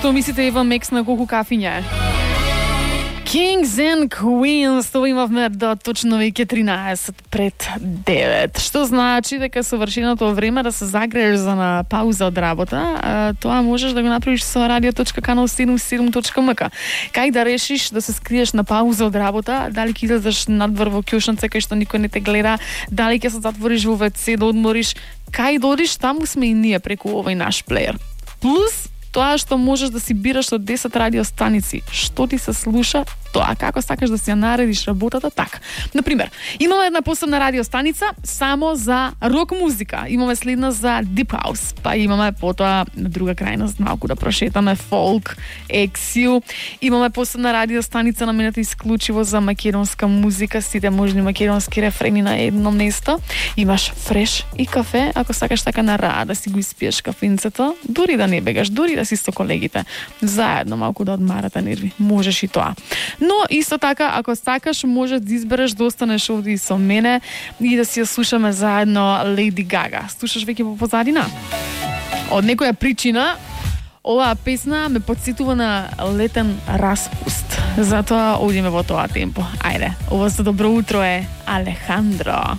Што мислите, Eva Max на колку кафиња е? Kings and Queens, тоа имавме до точно веќе 13 пред 9. Што значи дека совршеното време да се загрееш за на пауза од работа, тоа можеш да го направиш со radio.canal77.mk. Кај да решиш да се скриеш на пауза од работа, дали ќе излезеш надвор во кјошница кај што никој не те гледа, дали ќе се затвориш во WC да одмориш, кај додиш, таму сме и ние преку овој наш плеер. Плюс тоа што можеш да си бираш од 10 радиостаници, што ти се слуша, тоа како сакаш да си ја наредиш работата, така. Например, имаме една посебна радиостаница само за рок музика, имаме следна за deep house, па имаме потоа на друга крајност малку да прошетаме folk, ексил, имаме посебна радиостаница наменета исклучиво за македонска музика, сите можни македонски рефрени на едно место, имаш фреш и кафе, ако сакаш така на раа да си го испиеш кафенцето, дури да не бегаш, дури да си со колегите, заедно малку да одмарате нерви, можеш и тоа. Но исто така, ако сакаш, можеш да избереш да останеш овде и со мене и да си ја слушаме заедно Lady Gaga. Слушаш веќе по позадина? Од некоја причина, оваа песна ме подсетува на летен распуст. Затоа одиме во тоа темпо. Ајде, ово за добро утро е Алехандро.